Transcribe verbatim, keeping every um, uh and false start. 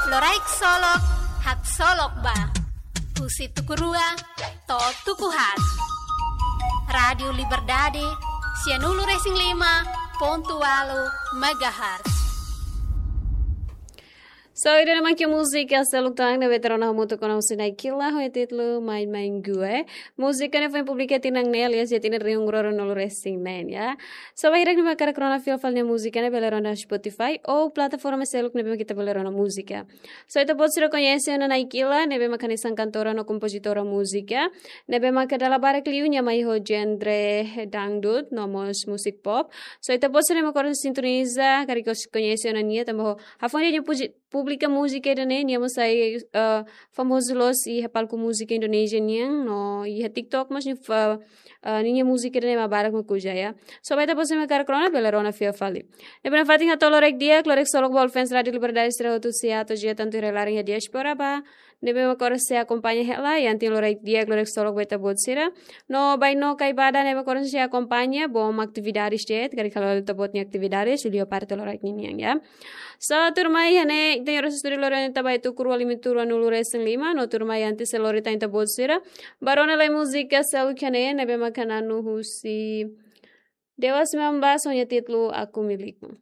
Loraik Solok, haksolok ba. Husi tuku rua to'o tuku haat. Rádiu Liberdade, sianulu-resin-lima pontu ualu megahertz. So, ida-ne'e mak múzika seluk tan ne'ebé ita rona hamutuk ona husi Naikila, ho títulu Main Main Gue. Múzika ne'e foin publika tinan ne'e, aliás, iha tinan rihun rua ruanulu-resin-neen, ya. So, ba sira ne'ebé mak hakarak rona fila fali nia múzika ne'e bele rona Spotify ou plataforma seluk ne'ebé mak ita bele rona múzika. So, ita-boot sira koñese ona Naikila, ne'ebé mak hanesan kantora no kompozitora múzika, ne'ebé mak dala barak liu nia mai ho genre dangdut, no mós musik pop. So, ita-boot sira ne'ebé mak oras sintoniza, karik koñese ona nia, tanba ho hafoin nia puji-, publika múzika ida-ne'e, nia mós sai, eh, famozu loos iha palku múzika Indonézia nian, no iha TikTok mós nia fa-, eh, ninia múzika ida-ne'e mak barak mak uza, ya. So, ba ita-boot sira ne'ebé mak hakarak rona, bele rona fila fali. Ne'ebé nafatin hato'o loraik di'ak, loraik solok ba all fans Rádiu Liberdade sira hotu, sira atu jia tantu iha rai-laran iha diáspora ba ne'ebé mak oras sei akompaña hela, iha tinan loraik di'ak, loraik solok ba ita-boot sira. No bainó karik ba ida ne'ebé mak oras sei akompaña, bom atividades de'it, karik halo ita-boot nia atividades, liu parte loraik ninian, ya. So, tuirmai iha ne'e, ita-nia estúdiu lori tan ba iha tuku rua lima, tuku ruanulu-resin-lima, no tuirmai antes sei lori tan ita-boot sira ba rona lai múzika seluk iha ne'e, ne'ebé mak na'in husi Dewa sembilan belas ho nia títulu Aku Milikmu.